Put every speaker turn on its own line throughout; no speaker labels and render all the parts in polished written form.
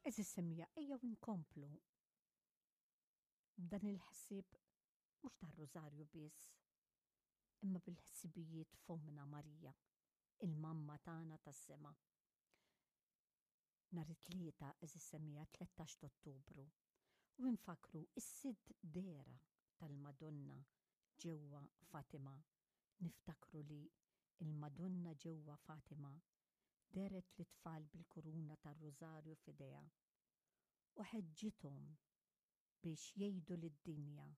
Għeżież semmiegħa ejjew inkomplu b'dan il-ħsieb mhux tar-Rużarju biss, imma bil-ħsibijiet f'Ommna Marija, il-Mamma tagħna tas-sema. Nhar it-Tlieta, għeżież semmiegħa, 13 t'Ottubru, u nfakkru s-sitt dehra tal-Madonna ġewwa Fatima. Niftakru li l-Madonna ġewwa Fatima dehret lit-tfal bil-kuruna tar-Rużarju f'idejha u ħeġġithom biex jgħidu lid-dinja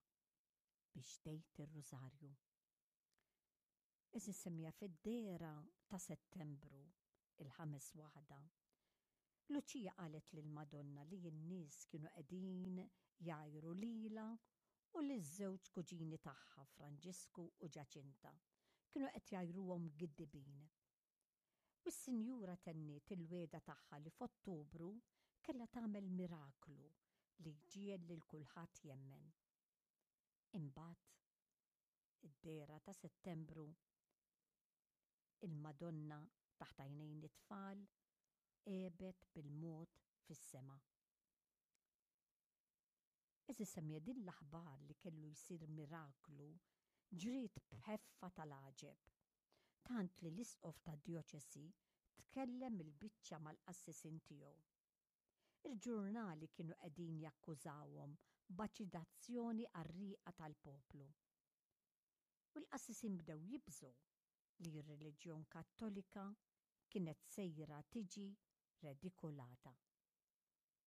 biex tgħid ir-Rużarju. Għeżież semmiegħa fid-dehra ta' Settembru, il-ħames waħda, Luċija qalet lill-Madonna li n-nies kienu qegħdin jgħajru lilha u liż-żewġ kuġini tagħha Franġisku u Ġaċinta. Kienu qed jgħajruhom giddibin. U s-Sinjura tenniet il-wegħda tagħha li f'Ottubru kellha tagħmel miraklu li jġiegħel lil kulħadd jemmen. Imbagħad, id-dehra ta' Settembru, il-Madonna taħt għajnejn it-tfal għebet bil-mod fis-sema. Għeżież semmiegħa din l-aħbar li kellu jsir miraklu ġriet b'ħeffa tal-għaġeb, tant li l-isqof tad-djoċesi tkellem il-biċċa mal-qassisin tiegħu. Il-ġurnali kienu qegħdin jakkużawhom b'aċidazzjoni qarrieqa tal-poplu. U l-qassisin bdew jibżgħu li r-reliġjon Kattolika kienet sejra tiġi redikolata.